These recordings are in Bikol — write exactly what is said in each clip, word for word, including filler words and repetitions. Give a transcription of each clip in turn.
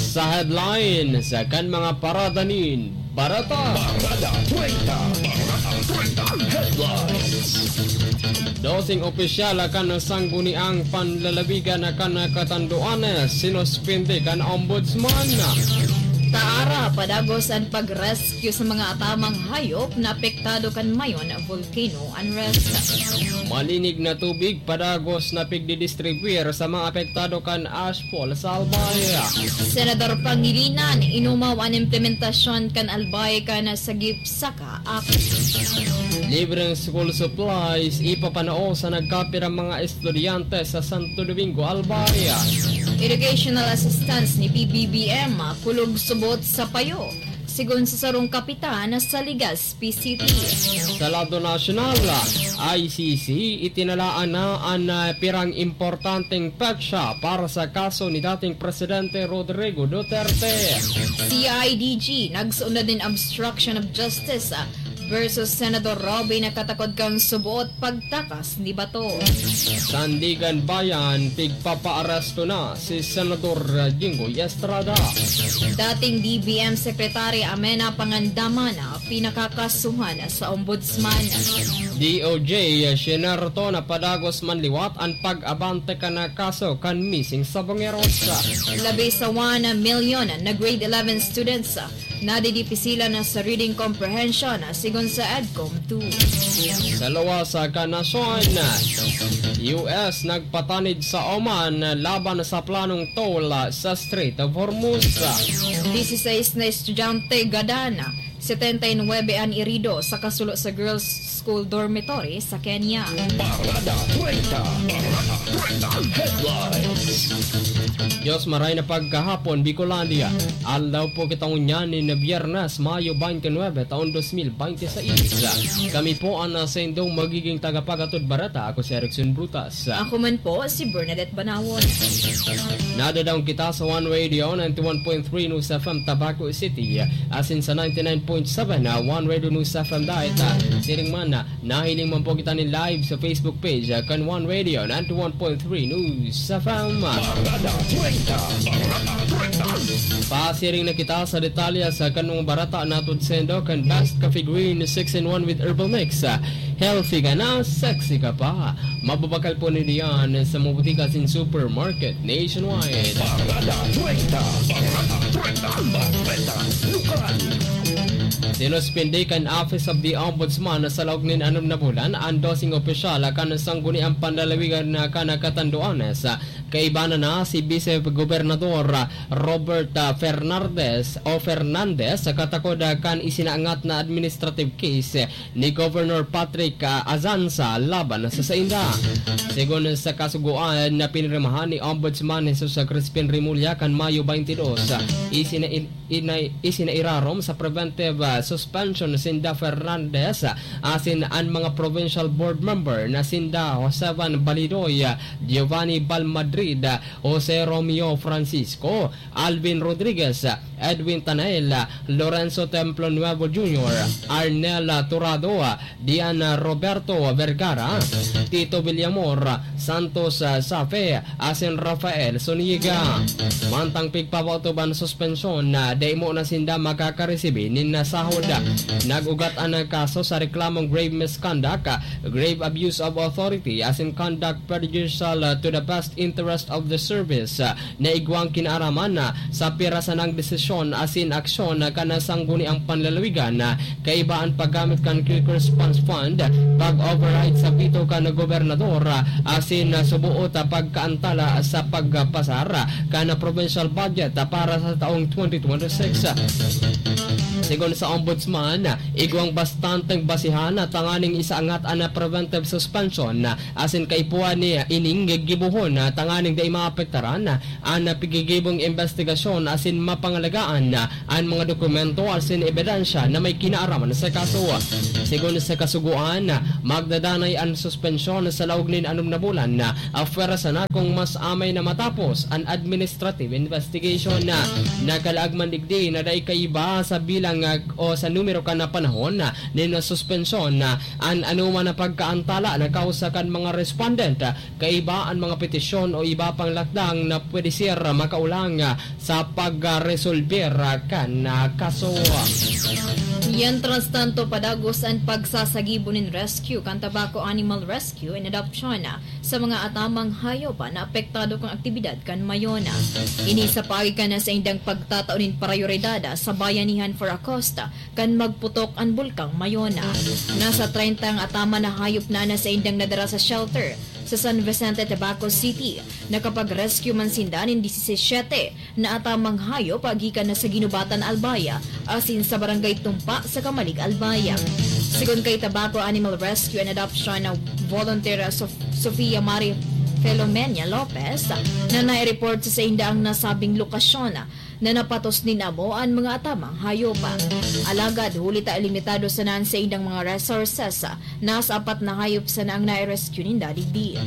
Sa headlines kan mga parada nin bareta. Parada treinta, Parada treinta Headlines. Doseng opisyal kan Sangguniang Panlalawigan kan Catanduanes sinuspindi kan Ombudsman. Taara, padagos an pag-rescue sa mga atamang hayop na apektado kan Mayon volcano unrest. Malinig na tubig padagos na pigdidistribuyar sa mga apektado kan ashfall sa Albay. Senador Pangilinan, inumaw an implementasyon kan Albay kan Sagip Saka Act. Libreng school supplies ipapanao sa nagkapirang mga estudyante sa Santo Domingo, Albay. Educational assistance ni P B B M, kulog subot sa payo, sigon sa sarong kapitan sa Legazpi City. Sa lado nasyonal, I C C, itinalaan na an, ah, pirang importanteng petsa para sa kaso ni dating Presidente Rodrigo Duterte. C I D G, nagsuunod nin obstruction of justice, ah, versus Senador Robin na katakod kan subot pagtakas ni Bato. Sandigan Bayan, pigpapaaresto na si Senador Jinggoy Estrada. Dating D B M Secretary Amena Pangandaman, pinakakasuhan sa Ombudsman. D O J, sinerto na padagos man liwat an pag-abante kan kaso kan missing Sabongeros. Labi sa one million na grade eleven students nadidipisilan na sa reading comprehension, sigon sa EDCOM two. Sa luwas kan nasyon, U S nagpatanid sa Oman laban sa planong toll sa Strait of Hormuz. Dieciséis na estudyante gadan, setenta y nuebe an irido sa kasulo sa girls' school dormitory sa Kenya. Parada treinta, Parada treinta Headlines. Diyos maray na pagkahapon, Bicolandia. Aldaw po kita ngunyan nin Biyernes, Mayo twenty-nine, taon dos mil binte seis. Kami po an, ah, saindong magiging tagapagatod bareta. Ako si Erickson Brutas. Ako man po, si Bernadette Banawon. Nadadaong kita sa One Radio ninety-one point three News F M Tabaco City, asin sa ninety-nine point seven na One Radio News F M Diet. Siring man, nahiling man po kita nin live sa Facebook page, ah, kan One Radio ninety-one point three News F M. Parada treinta, Parada treinta. Pasiring na kita sa detalye sa kanong barata na saindo kan Best Coffee Green six in one with Herbal Mix. Healthy ka na, sexy ka pa. Mababakal po nindo yan sa mga butika asin supermarket nationwide. Parada treinta, Parada treinta, Bareta Lokal. Sinuspindi kan Office of the Ombudsman sa laog nin anom na bulan an doseng opisyal kan Sangguniang Panlalawigan na kan Catanduanes. Kaiba na na si Vice Gobernador Robert, ah, Fernandez o Fernandez sa katakod, ah, kan isinaangat na administrative case ni Governor Patrick, ah, Azanza laban sa sainda. Sigon sa kasugoan na pinirmahan ni Ombudsman Jesus Crispin Remulla kan Mayo twenty-two, ah, isina-, in-, inay-, isinairarom sa preventive, ah, suspension sinda Fernandez, ah, asin an mga provincial board member na sinda Josevan Balidoy, ah, Giovanni Balmadrid, ah, Jose Romeo Francisco, Alvin Rodriguez, Edwin Tanael, Lorenzo Templo Nuevo Junior, Arnel Turado, Diana Roberto Vergara, Tito Villamor, Santos Safe, asin Rafael Zuniga. Mantang pigpapaotob an suspensyon, dai mo na sinda makakaresibi nin sahod. Nag-ugat an kaso sa reklamong grave misconduct, grave abuse of authority, asin conduct prejudicial to the best interest of the service na igwang kinaaraman sa pira sanang desisyon asin aksyon kan Sangguniang Panlalawigan, kaiba an paggamit kan Quick Response Fund, pag-override sa veto kan gobernador, asin suboot pagkaantala sa pagpasar kan provincial budget para sa taong twenty twenty-six. Sigon sa Ombudsman, igwang bastanteng basihan tanganing isaangat an preventive suspension asin kaipuhan ni ining gibohon tanganing dai maapektaran an pigigibong imbestigasyon asin mapangalagaan an mga dokumento asin ebidensya na may kinaaraman sa kaso. Sigon sa kasugoan, magdadanay an suspensyon sa laog nin anom na bulan, apwera sana kung mas amay na matapos an administrative investigation. Nakalaag man digdi na dai kaiba sa bilang, ah, o sa numero kan panahon nin suspensyon an anoman na pagkaantala na kausa kan mga respondent, kaiba an mga petisyon o iba pang lakdang na pwede sira makaulang sa pagresolber kan, ah, kaso. Mientras tanto, padagos an pagsasagibo nin rescue kan Tabaco Animal Rescue and Adoption sa mga atamang hayop na apektado kan aktibidad kan Mayona. Ini sa paagi kan saindang pagtatao nin prayoridad sa Bayanihan for Acosta kan magputok an Bulkang Mayona. Nasa treinta ang ataman na hayop na na saindang nadara sa shelter sa San Vicente, Tabaco City. Nakapag-rescue man sinda nin disisete na atamang hayop gikan na sa Ginubatan, Albay, asin sa Barangay Tumpa sa Camalig, Albay. Sigon kay Tabaco Animal Rescue and Adoption na volunteer Sof-, Sofia Marie Filomena Lopez, na nai-report sa sainda ang nasabing lokasyon na napatos nin amo an mga atamang hayop. Alagad huli ta limitado sana an saindang mga resources, nasa apat na hayop sana ang nai-rescue ninda digdi.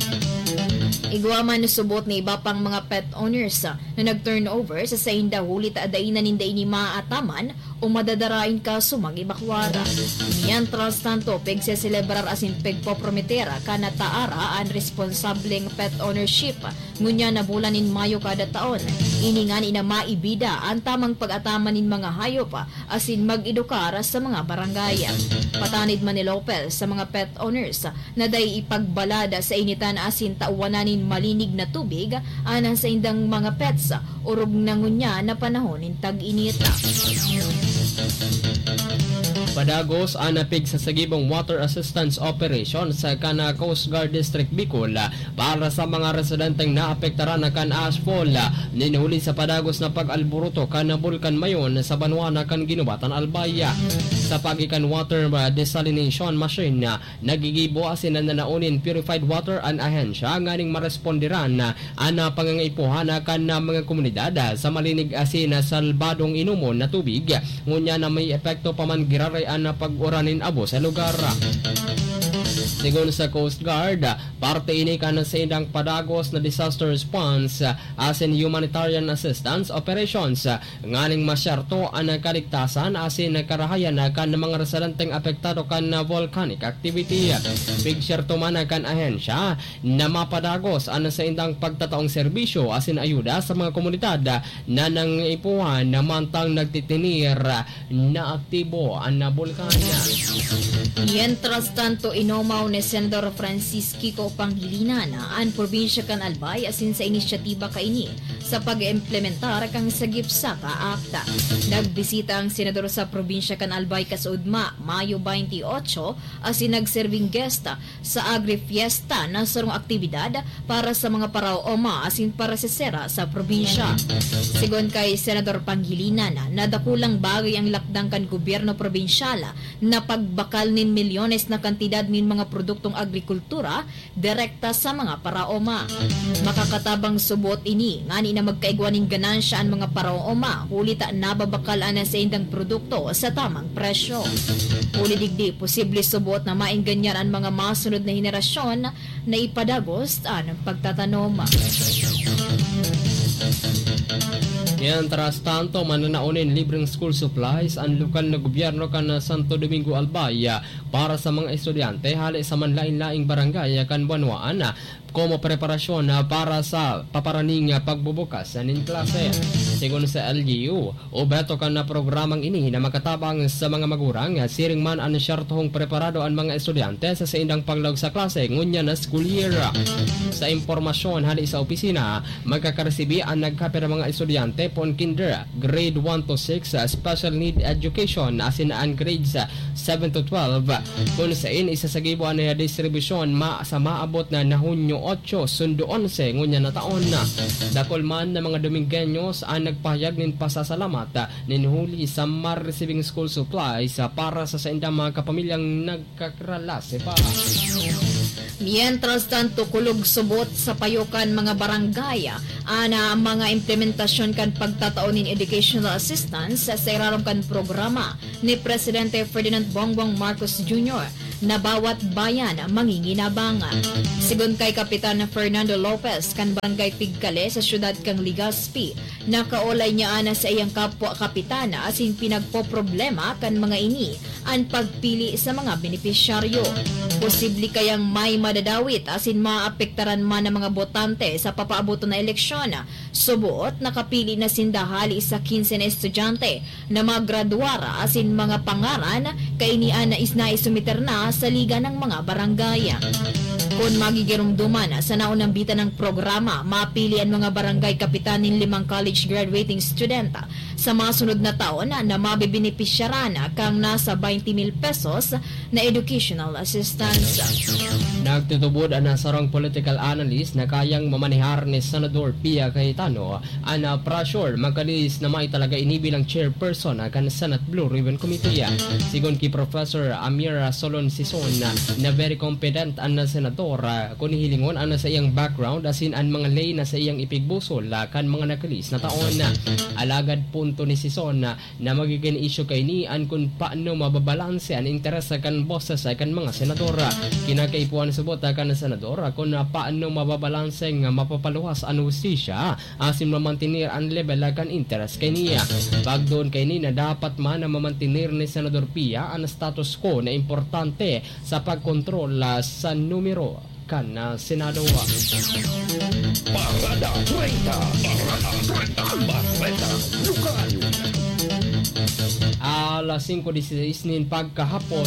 Igwa man subot ni iba pang mga pet owners na nag-turnover sa sainda huli ta dai na ninda ini maaataman o madadarain kaso mag-ebakwar. Mientras tanto, pigseselebrar asin pigpoprometer kan Taara an responsableng pet ownership ngunyan na bulan nin Mayo kada taon. Ini ngani na maibida an tamang pag-ataman nin mga hayop asin mag-edukar sa mga barangay. Patanid man ni Lopez sa mga pet owners na dai ipagbalad sa initan asin tawanan nin malinig na tubig an saindang mga pets, orog na ngunyan na panahon nin tag-init. Padagos an pigsasagibong water assistance operation sa kan Coast Guard District Bicol para sa mga residenteng naapektaran kan ashfall nin huli sa padagos na pag-alboroto kan Bulkan Mayon sa banwa na kan Ginubatan, Albay. Sa paagi kan water desalination machine, nagigibo asin nananaon nin purified water an ahensya nganing maresponderan an pangangaipuhan kan mga komunidad sa malinig asin salbadong inomon na tubig, ngunyan na may epekto pa man giraray an pag-uran nin abo sa lugar. Sigon sa Coast Guard, parte ini kan saindang padagos na disaster response asin humanitarian assistance operations nganing masyerto an kaligtasan asin karahayan kan mga residenteng apektado kan volcanic activity. Pigsyerto man kan ahensya na mapadagos an saindang pagtataong serbisyo asin ayuda sa mga komunidad na nangangaipuhan na mantang nagtitinir na aktibo an bulkan. Mientras tanto, inomaw ni Senador Francis Kiko Pangilinan an probinsya kan Albay asin sa inisyatiba kaini sa pag-implementar kan Sagip Saka Act. Nagbisita ang senador sa probinsya kan Albay kasaudma, Mayo twenty-eight, asin nagserbing guest sa Agri-Fiesta na sarong aktibidad para sa mga paraoma asin parasesera sa probinsya. Sigon kay Senador Pangilinan, na dakulang bagay ang lakdang kan gobyerno probinsyal na pagbakal nin milyones na kantidad nin mga produktong agrikultura direkta sa mga paraoma. Makakatabang subot ini ngani na magkaigwa nin ganansya an mga paraoma huli ta nababakal an saindang produkto sa tamang presyo. Huli digdi, posible subot na maengganyan an mga masunod na henerasyon na ipadagos an pagtatanom. Mientras tanto, mananaon nin libreng school supplies an lokal na gobyerno kan Santo Domingo, Albay, para sa mga estudyante hale sa manlain-laing barangay kan banwaan, komo preparasyon para sa paparaning pagbubukas nin klase. Sigon sa L G U, obheto kan programang ini na makatabang sa mga magurang, siring man an syertohong preparado an mga estudyante sa saindang paglaog sa klase ngunyan na school year. Sa impormasyon hale sa opisina, magkakaresibi an nagkapirang mga estudyante poon kinder, grade one to six, special need education, asin an grades seven to twelve, kun sain isasagibo an distribusyon ma-, sa maabot na, na Hunyo otso, sundo onse, ngunyan na taon. Dakul man na mga Domingueños an nagpahayag nin pasasalamat nin huli sa maresibing school supplies para sa saindang mga kapamilyang nagkakralase pa. Mientras tanto, kulog subot sa payo kan mga barangay an, ah, mga implementasyon kan pagtatao nin educational assistance sa irarom kan programa ni Presidente Ferdinand Bongbong Marcos Junior na Bawat Bayan Manginginabang. Sigon kay Kapitan Fernando Lopez kan Barangay Pigkale sa siyudad kan Legazpi, nakaolay niya ana sa iyang kapwa kapitan asin pinagpoproblema kan mga ini an pagpili sa mga benepisyaryo. Posible kayang ay madadawit asin maapektaran man ang mga botante sa papaaboton na eleksyon. Suboot, nakapili na sinda hali sa kinse na estudyante na magradwar asin mga pangaran kaini an isnaisumiter na sa Liga ng mga Barangay. Kun magigiromdoman sa naunambitan ng programa, mapili an mga barangay kapitan nin limang college graduating student sa masunod na taon na mabebenepisyaran kan nasa twenty mil pesos na educational assistance. Nagtutubod an sarong political analyst na kayang mamanehar ni Senador Pia Cayetano an, ah, pressure magkalis na mayo talaga ini bilang chairperson, ah, kan Senate Blue Ribbon Committee. Sigon ki Professor Amir Solon Sison, ah, na very competent an senador, ah, kun hihilingon an saiyang background asin an mga ley na saiyang ipigbusol, ah, kan mga nakalis na taon. Alagad punto ni Sison, ah, na magigin isyu kaini an kun paano mababalanse an interes kan boses kan mga senador. Kinakaipuhan subot kan senador kun paano mababalanse nga mapapaluwas an hustisya asin mamantener an lebel kan interes kaini. Pagdoon kaini na dapat man na mamantener ni Senador Pia an status quo na importante sa pagkontrol sa numero kan, ah, Senado. Parada treinta, Parada treinta, Bareta Lokal. Alas singko dieciséis nin pagkahapon,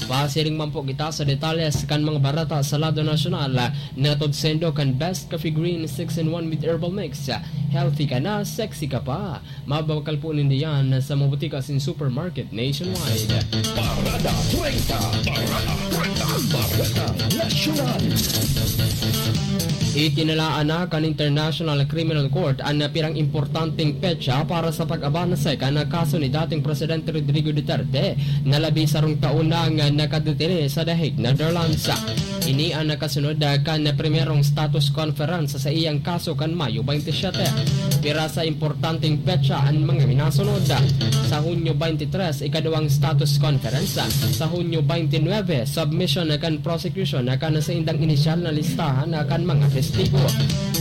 pasiring man po kita sa detalles kan mga bareta sa lado nasyonal, na todsendo kan Best Coffee Green six-in-one with Herbal Mix. Healthy ka na, sexy ka pa. Mabakal po nindo yan sa mga butika asin supermarket nationwide. Parada treinta, Parada treinta, Bareta Nasyonal. Itinalaan na kan International Criminal Court an napirang importanteng petsa para sa pag-abanse kan kaso ni dating Presidente Rodrigo Duterte, na labi sarong taon nang nakadetene sa The Hague, Netherlands. Ini an nakasunod, ah, kan primerong status conference sa iyang kaso kan Mayo twenty-seven. Pira sa importanteng petsa an mga minasunod. Sa Hunyo twenty-three, ikaduwang status conference. Sa Hunyo twenty-nine, submission kan prosecution kan saindang inisyal na listahan kan mga testigo.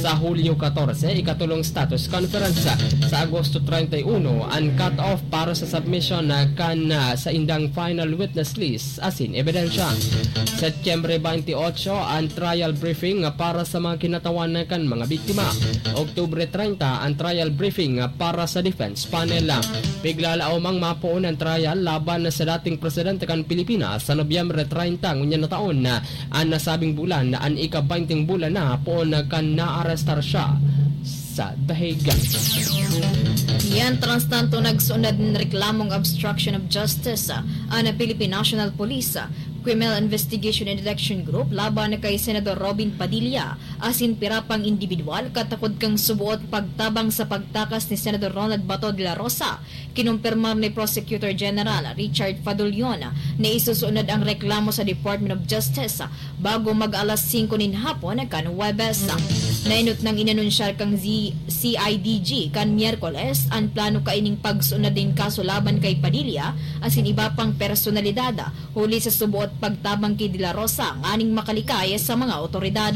Sa Hulyo katorse, ikatolong status conference. Sa Agosto treinta y uno, an cut-off para sa submission kan, ah, saindang final witness list asin ebidensya. Setyembre twenty-eight, an trial briefing para sa mga kinatawan kan mga biktima. Oktubre treinta, an trial briefing para sa defense panel. Piglalaaw mang mapoon an trial laban sa dating presidente kan Pilipinas sa Nobyembre treinta ngunyan na taon. An nasabing bulan, an ika-baynte bulan na poon kan naarestar siya sa The Hague. Mientras tanto, nagsunod nin reklamong obstruction of justice, ah, an Philippine National Police, ah, Criminal Investigation and Detection Group laban kay Senador Robin Padilla asin pira pang indibidwal katakod kan suboot pagtabang sa pagtakas ni Senador Ronald Bato de la Rosa. Kinumpirmar ni Prosecutor General Richard Fadulion na isusunod ang reklamo sa Department of Justice bago mag-alas singko nin hapon kan Huwebes. Naenot nang inanunsyar kan Z-, C I D G kan Miyerkules an plano kaining pagsunod nin kaso laban kay Padilla asin iba pang personalidad, huli sa suboot pagtabang ki De La Rosa nganing makalikay sa mga awtoridad.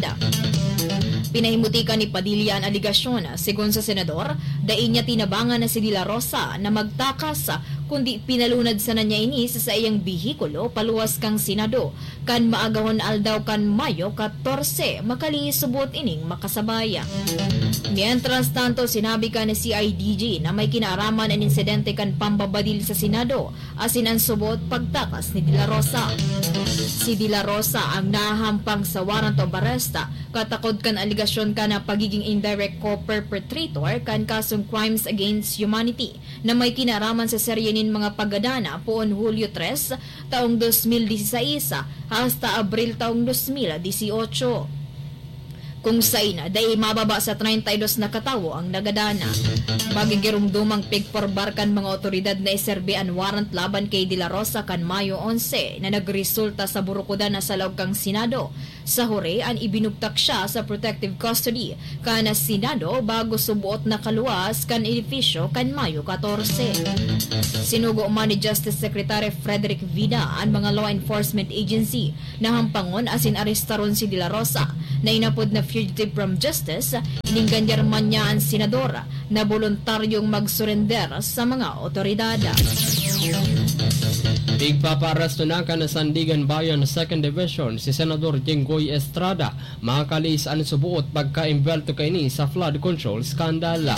Pinahimutikan ni Padilla an alegasyon. Segun sa senador, dai niya tinabangan na si De La Rosa na magtakas, kundi pinalunad sana niya ini sa saiyang behikulo paluwas kan Senado kan maagahon aldaw kan Mayo katorse, makali suboot ining makasabay. Mientras tanto, sinabi kan C I D G na may kinaaraman an insidente kan pambabadil sa Senado asin an suboot pagtakas ni De La Rosa. Si De La Rosa ang nahahampang sa warrant of arrest katakod kan alegasyon kan pagigin indirect co-perpetrator kan kasong crimes against humanity na may kinaaraman sa serye nin mga paggadana poon Hulyo tres taong dos mil dieciséis hasta Abril taong dos mil dieciocho, kung sain dai mababa sa treinta y dos na katawo ang nagadana. Magigiromdomang pigporbar kan mga awtoridad na iserbi an warrant laban kay De La Rosa kan Mayo onse na nagresulta sa burukodan na sa laog kan Senado. Sa hure, an ibinugtak siya sa protective custody kan Senado bago suboot na kaluwas kan edifisyo kan Mayo katorse. Sinugo man ni Justice Secretary Frederick Vida an mga law enforcement agency na hampangon asin arestaron si De La Rosa, na inapod na fugitive from justice, inenganyar man niya an senador na boluntaryong magsurender sa mga awtoridad. Igpapaaresto na kan Sandiganbayan Second Division si Senador Jinggoy Estrada, makalihis an suboot pagka-imbwelto kaini sa flood control scandal.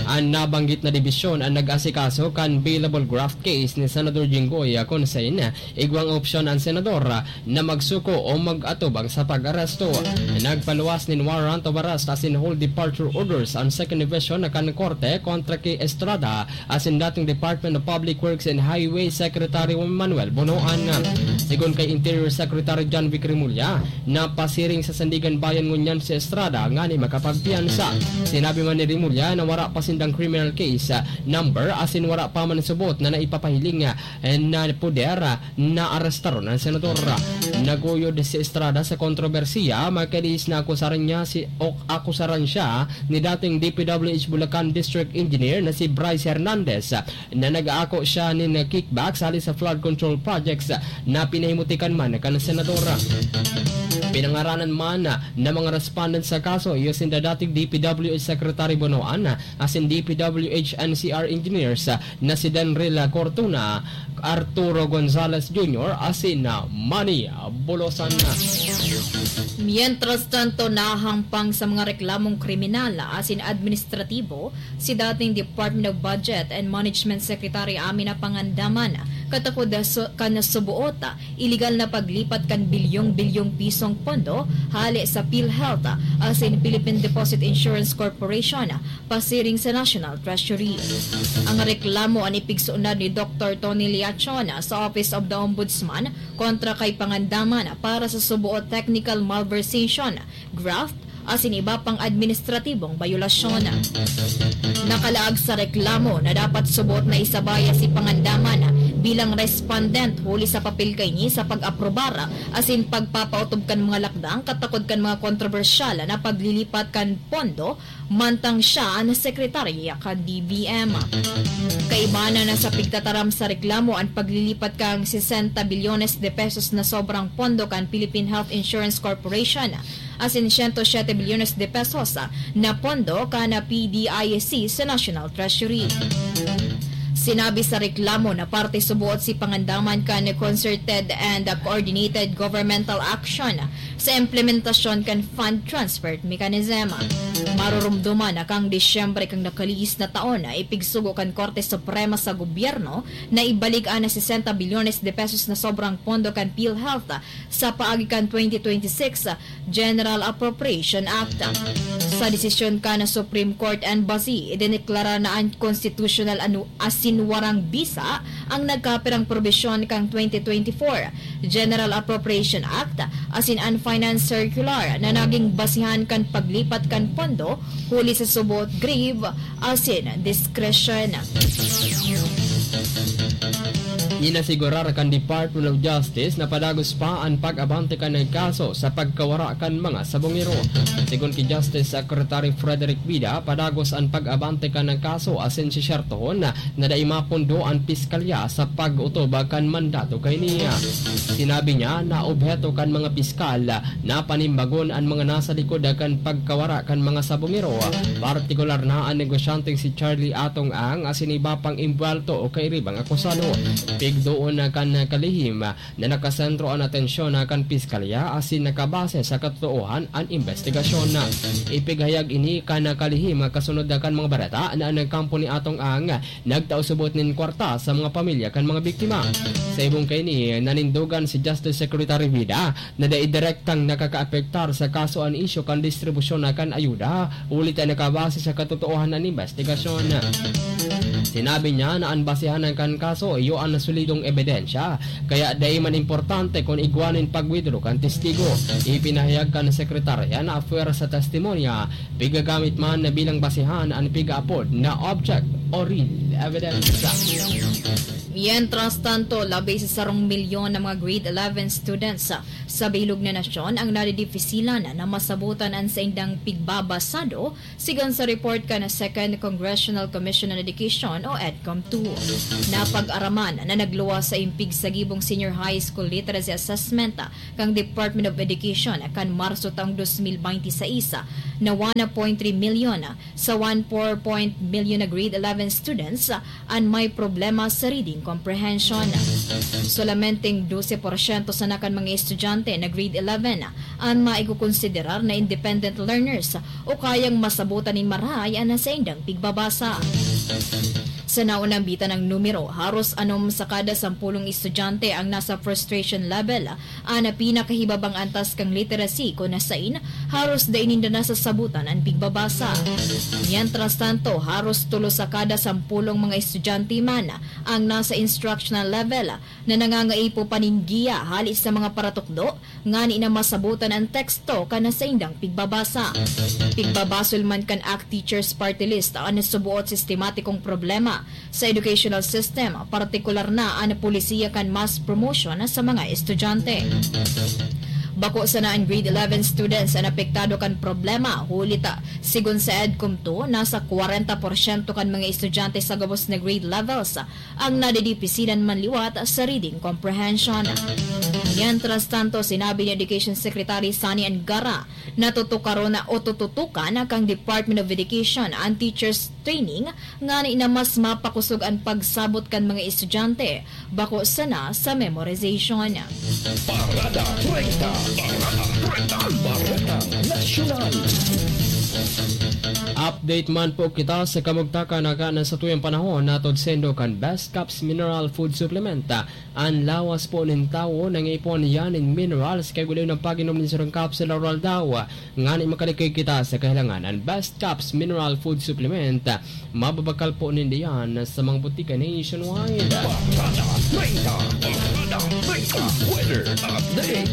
An nabanggit na dibisyon an nag-asikaso kan bailable graft case ni Senador Jinggoy, kun saen igwang opsyon an senador na magsuko o mag-atubang sa pag-aresto. Nagpaluwas nin warrant of arrest asin hold departure orders an Second Division na kan korte kontra ki Estrada asin dating Department of Public Works and Highway Secretary Manuel Bonoan. Sigon kay Interior Secretary John Vic Remulla, napasiring sa Sandiganbayan ngunyan si Estrada ngani makapagpiyansa. Sinabi man ni Remulla na wara pa sindang criminal case number asin wara pa man subot na naipapahiling na poder na arestaron an senador. Naguyod si Estrada sa kontrobersiya, makalihis na akusaran niya si, o akusaran siya ni dating D P W H Bulacan District Engineer na si Bryce Hernandez na nag-aako siya nin kickback hali sa flood control projects na pinahimutikan man kan senador. Pinangaranan man na mga respondent sa kaso iyo sinda dating D P W H Secretary Bonoan asin D P W H N C R engineers na si Denril Cortuna, Arturo Gonzalez Junior asin Manny Bulosan. Mientras tanto, nahampang sa mga reklamong kriminal asin administratibo si dating Department of Budget and Management Secretary Amina Pangandaman, katakod so, kan subuot, iligal na paglipat kan bilyong-bilyong pisong pondo hale sa PhilHealth asin Philippine Deposit Insurance Corporation pasiring sa National Treasury. Ang reklamo an ipigsunod ni Doktor Tony Liachon sa Office of the Ombudsman kontra kay Pangandaman para sa suboot technical malversation, graft, asin iba pang administratibong bayolasyon. Nakalaag sa reklamo na dapat suboot na isabaya si Pangandaman bilang respondent huli sa papel kaini sa pag-aprobar asin pagpapautob kan mga lakdang katakod kan mga kontrobersyal na paglilipat kan pondo mantang siya an sekretarya kan D B M. Kaiba na na sa pigtataram sa reklamo an paglilipat kan sesenta bilyones de pesos na sobrang pondo kan Philippine Health Insurance Corporation asin siyento siyete bilyones de pesos na pondo kan P D I C sa National Treasury. Sinabi sa reklamo na parte suboot si Pangandaman kan concerted and coordinated governmental action sa implementasyon kan fund transfer mechanism. Marurumduman na kan Disyembre kan nakalihis na taon na ipigsugo kan Korte Suprema sa gobyerno na ibalik an sesenta bilyones de pesos na sobrang pondo kan PhilHealth sa paagi kan twenty twenty-six General Appropriation Act. Sa desisyon kan Supreme Court N B A S I, idineklara na unconstitutional anu-, asin warang bisa ang nagkapirang probisyon kan twenty twenty-four General Appropriation Act asin an Finance Circular na naging basihan kan paglipat kan pondo huli sa suboot grave asin discretion. Inasigurar kan Department of Justice na padagos pa an pag-abante kan kaso sa pagkawara kan mga sabongero. Sigon ki Justice Secretary Frederick Vida, padagos an pag-abante kan kaso asin sisyertohon na dai mapondo an piskalya sa pag-otob kan mandato kaini. Sinabi niya na obheto kan mga piskal na panimbagon an mga nasa likod kan pagkawara kan mga sabongero, partikular na an negosyanteng si Charlie Atong Ang asin iba pang imbwelto o kairibang akusado. Pigdoon na kan kalihim na nakasentro an atensyon na kan piskalya asin nakabase sa katotoohan an imbestigasyon. Ipighayag ini kan kalihim kasunod kan mga bareta na an kampo ni Atong Ang nagtao subot nin kwarta sa mga pamilya kan mga biktima. Sa ibong kaini, nanindogan si Justice Secretary Vida na dai direktang nakakaapektar sa kaso an isyu kan distribusyon na kan ayuda, huli ta nakabase sa katotoohan an imbestigasyon. Sinabi niya na an basehan kan kaso iyo an solidong ebidensya, kaya dai man importante kun igwa nin pag-withdraw kan testigo. Ipinahayag kan sekretarya na apwera sa testimonya, pigagamit man na bilang basehan an piga-apod na object o real evidence. Mientras tanto, labi sa sarong milyon na mga grade eleven students sa, sa bilog na nasyon ang nadidipisilan na masabutan an saindang pigbabasado, sigon sa report kan Second Congressional Commission on Education o EDCOM two. Napag-araman na nagluwas sa impig sa gibong Senior High School Literacy Assessment kan Department of Education kan Marso taong dos mil baynte sais na one point three milyon sa one four point milyon na grade eleven students an may problema sa reading comprehension. Solamenteng dose porsyento sana kan mga estudyante na grade eleven an maikukonsiderar na independent learners o kayang masabutan nin marahay an saindang pigbabasa. Sa naunambitan ang numero, haros anom sa kada sampulong estudyante ang nasa frustration level, an pinakahibabang antas kan literacy kun sain haros dai ninda nasasabutan an pigbabasa. Mientras tanto, haros tulo sa kada sampulong mga estudyante man ang nasa instructional level na nangangaipo pa nin giya hali sa mga paratukdo ngani na masabutan an teksto kan saindang pigbabasa. Pigbabasol man kan ACT Teachers Party List an subuot sistematikong problema sa educational system, partikular na an polisiya kan mass promotion sa mga estudyante. Bako sana an grade eleven students an apektado kan problema, huli ta, sigon sa EDCOM two, nasa kwarenta porsyento kan mga estudyante sa gabos na grade levels ang nadidipisilan man liwat sa reading comprehension. Mientras tanto, sinabi ni Education Secretary Sonny Angara na tutukaron na o tututukan kan Department of Education an teachers training ngani na mas mapakosog an pagsabot kan mga estudyante, bako sana sa memorization. Parada treinta, Parada treinta, Parada Nasyonal. Update man po kita sa kamugtakan na kanan sa tuyang panahon, natod sendo kan Best Caps Mineral Food Supplement. An lawas po nin tawo nangipon yan nin minerals kay guli ng pag-inom nin sarong capsule aroaldaw. Ngani makalikoy kita sa kahilangan, an Best Caps Mineral Food Supplement, mababakal po ninda yan sa mga butika nationwide. Parada treinta, Parada treinta, weather update.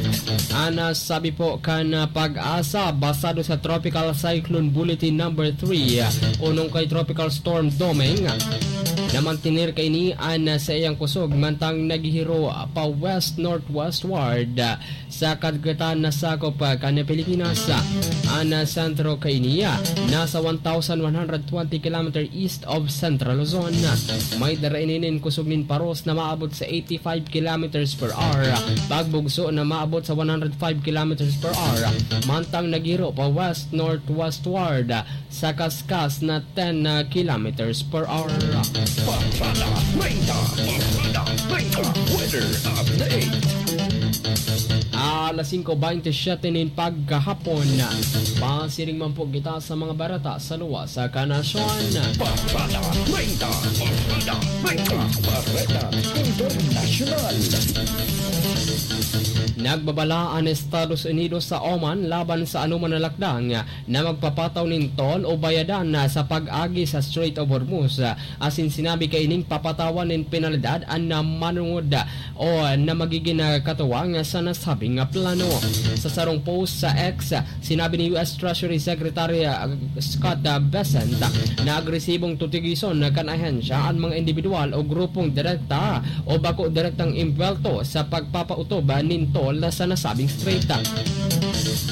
Ana sabi po kan, ah, Pag-asa, basado sa Tropical Cyclone Bulletin Number three, ah, o nung kay Tropical Storm Domeng, na mantener kaini an, ah, saiyang kusog mantang naghihiro pa west-northwestward, ah, sa kadagatan na sakop, ah, kan Pilipinas. An, ah, sentro kaini, ah, nasa one thousand one hundred twenty kilometer east of Central Luzon. May dara ini nin kusog nin paros na maabot sa eighty-five kilometers per hour, pagbugso na maabot sa one hundred five kilometers per hour, mantang naghiro pa west-northwestward sa kaskas na ten kilometers per hour. Parada treinta, Parada treinta, weather update. Alas singko bente siyete nin pagkahapon, pasiring man po kita sa mga barata sa luwas sa kanasyon. Parada treinta, Parada treinta, Parada Internasyonal. Nagbabala an Estados Unidos sa Oman laban sa anoman na lakdang na magpapataw nin toll o bayadan na sa pag-agi sa Strait of Hormuz, asin sinabi kaining papatawan nin penalidad an na manungod o na magigin, ah, katuwang sa nasabing, ah, plano. Sa sarong post sa X, sinabi ni U S Treasury Secretary, ah, Scott, ah, Bessent na agresibong tutugisan kan ahensya an mga individual o grupong direkta o bako direktang imbuwelto sa pagpapautob nin toll sa nasabing strait.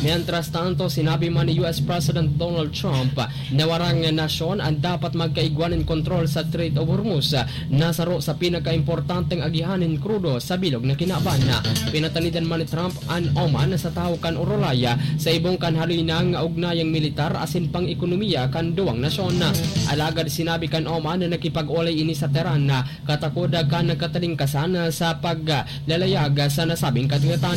Mientras tanto, sinabi man ni U S President Donald Trump na warang nasyon an dapat magkaigwa nin kontrol sa Strait of Hormuz, na saro sa pinakaimportanteng agihan nin krudo sa bilog na kinaban. Pinatanidan man ni Trump an Oman sa tahaw kan orolay sa ibong kan haloy na ugnayang militar asin pang-ekonomiya kan duwang nasyon. Alagad sinabi kan Oman na nakipag-olay ini sa Tehran na katakod kan katalingkasan sa paglalayag sa nasabing kadagatan.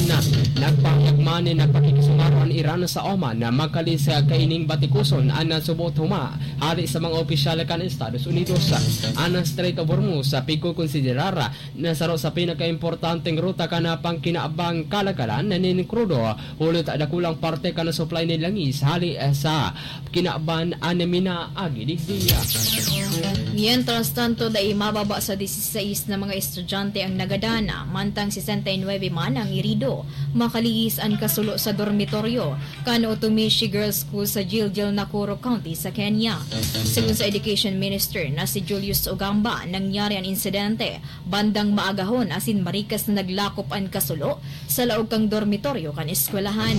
Nagpahayag man na pakikisumaro an Iran sa Oman na makalis kaining batikuson an subot huma hali sa mga opisyal kan Estados Unidos. An Strait of Hormuz pigkukonsiderar na saro sa pinakaimportanteng ruta kan pangkinabang kalagalan nin krudo, huli ta dakulang parte kan supply nin langis hali sa kinaban an minaagi digdi. Mientras tanto, dai mababa sa disisais na mga estudyante ang nagadana, mantang sesenta y nuebe man ang irido. Makalihis an kasulo sa dormitoryo kan Utumishi Girls School sa Gilgil, Nakuru County sa Kenya. Sigon sa Education Minister na si Julius Ogamba, nangyari an insidente bandang maagahon asin marikas na naglakop an kasulo sa laog kan dormitoryo kan eskwelahan.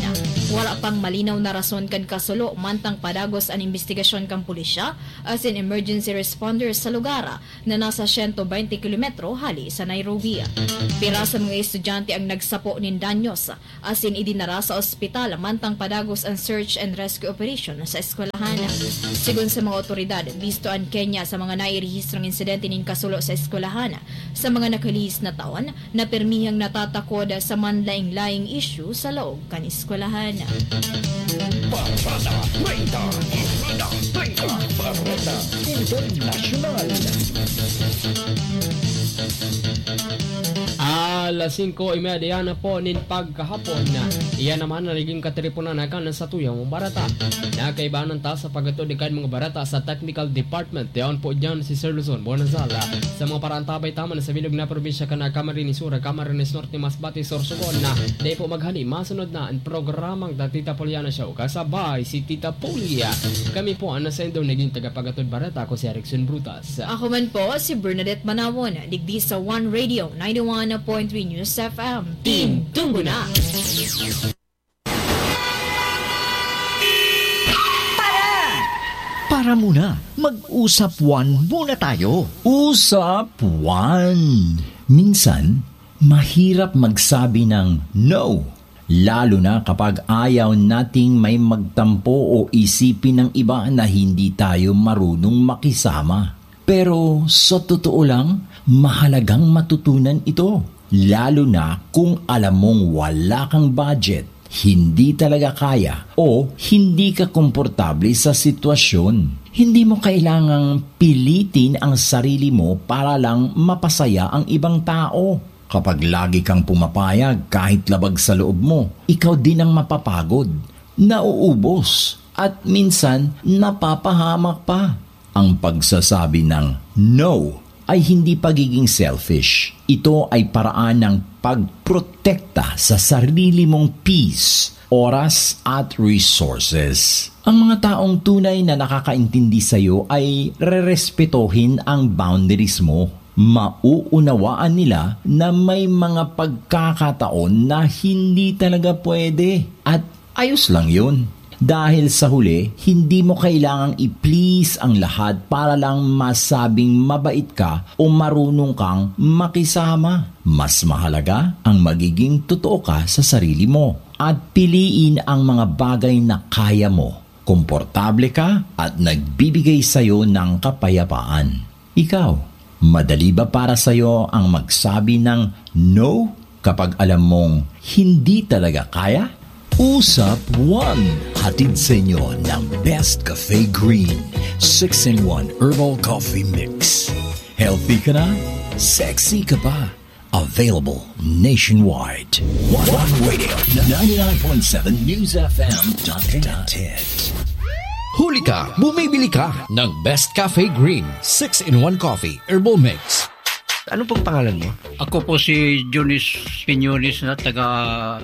Wala pang malinaw na rason kan kasulo, mantang padagos an imbestigasyon kan pulisya asin emergency responder sa lugar na nasa siyento bente kilometro hali sa Nairobi. Pira sa mga estudyante ang nagsapo nin danyos, asin idinara sa ospital mantang padagos an search and rescue operation sa eskwelahan. Sigon sa mga otoridad, bisto an Kenya sa mga nairehistrong insidente nin kasulo sa eskwelahan. Sa mga nakalihis na taon, na pirmihang natatakod sa manlaing-laing isyu sa laog kan eskwelahan. Barkada Treinta, Barkada Treinta, Barkada Internasyonal. Alas singko y media na po nin pagkahapon. Iyan naman na naging katiripunan na kan sa tuyang barata. Nakaibanan ta sa paghatod kan mga barata sa technical department. Yaon po dyan si Sir Luzon Bonazala. Sa mga paraantabay taman sa bilog na probinsya kan Camarines Sur, Camarines Norte, Masbate, Sorsogon na. Dai po maghali, masunod na ang programang The Tita Poliana Show. Kasabay si Tita Polia. Kami po ang nasaindo naging tagapagatod barata, ako si Erickson Brutas. Ako man po si Bernadette Manawon, digdi sa One Radio, ninety-one point three News F M. Tindog na! Para! Para muna, mag-usap one muna tayo. Usap one. Minsan, mahirap magsabi ng no, lalo na kapag ayaw nating may magtampo o isipin ng iba na hindi tayo marunong makisama. Pero sa totoo lang, mahalagang matutunan ito, lalo na kung alam mong wala kang budget, hindi talaga kaya o hindi ka komportable sa sitwasyon. Hindi mo kailangang pilitin ang sarili mo para lang mapasaya ang ibang tao. Kapag lagi kang pumapayag kahit labag sa loob mo, ikaw din ang mapapagod, nauubos, at minsan napapahamak pa. Ang pagsasabi ng no ay hindi pagiging selfish. Ito ay paraan ng pagprotekta sa sarili mong peace, oras, at resources. Ang mga taong tunay na nakakaintindi sa'yo ay rerespetohin ang boundaries mo. Mauunawaan nila na may mga pagkakataon na hindi talaga pwede. At ayos lang yun. Dahil sa huli, hindi mo kailangang i-please ang lahat para lang masabing mabait ka o marunong kang makisama. Mas mahalaga ang magiging totoo ka sa sarili mo at piliin ang mga bagay na kaya mo, komportable ka at nagbibigay sa'yo ng kapayapaan. Ikaw, madali ba para sa'yo ang magsabi ng no kapag alam mong hindi talaga kaya? Usap one, hatid sa inyo ng Best Cafe Green six-in-one Herbal Coffee Mix. Healthy ka na, sexy ka pa. Available nationwide. One Radio, ninety-nine point seven News F M dot net. Huli ka, bumibili ka ng Best Cafe Green six-in-one Coffee Herbal Mix. Ano pong pangalan mo? Ako po si Jonis Piñones na taga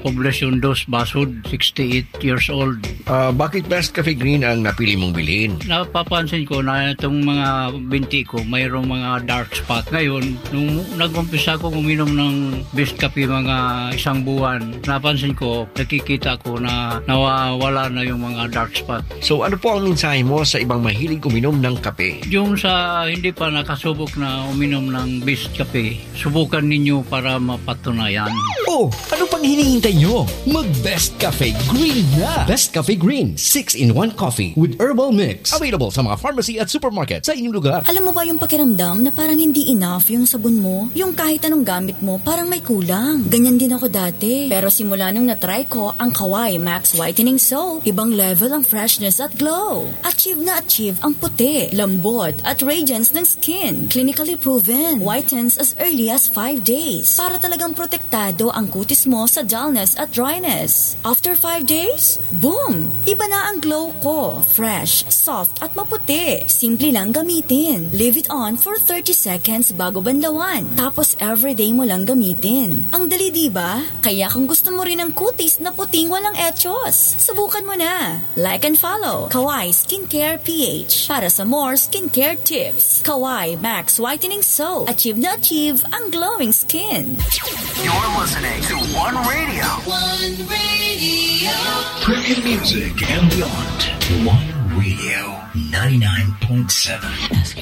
Poblacion Dos, Basud, sixty-eight years old. Ah, bakit Best Cafe Green ang napili mong bilhin? Napapansin ko na itong mga binti ko, mayroong mga dark spot. Ngayon, nung nag-umpisa akong uminom ng Best Cafe mga isang buwan, napansin ko, nakikita ko na nawawala na yung mga dark spot. So, ano po ang mensahe mo sa ibang mahilig uminom ng kape? Yung sa hindi pa nakasubok na uminom ng Best Cafe, subukan ninyo para mapatunayan. Oh, ano pang hinihintay nyo? Mag Best Cafe Green na! Best Cafe Green, six-in-one Coffee with Herbal Mix. Available sa mga pharmacy at supermarket sa inyong lugar. Alam mo ba yung pakiramdam na parang hindi enough yung sabon mo? Yung kahit anong gamit mo, parang may kulang. Ganyan din ako dati. Pero simula nung na-try ko ang Kawai Max Whitening Soap, ibang level ang freshness at glow. Achieve na achieve ang puti, lambot, at radiance ng skin. Clinically proven. Whitens as early as five days. Para talagang protektado ang kutis mo sa dullness at dryness. After five days, boom! Iba na ang glow ko. Fresh, soft, at maputi. Simple lang gamitin. Leave it on for thirty seconds bago banlawan. Tapos everyday mo lang gamitin. Ang dali, di ba? Kaya kung gusto mo rin ng kutis na puting walang echos, subukan mo na. Like and follow Kawai Skincare P H para sa more skincare tips. Kawai Max Whitening Soap. Achieve na achieve ang glowing skin. You're listening to One Radio. One Radio. Premium music and beyond. One Radio, ninety-nine point seven.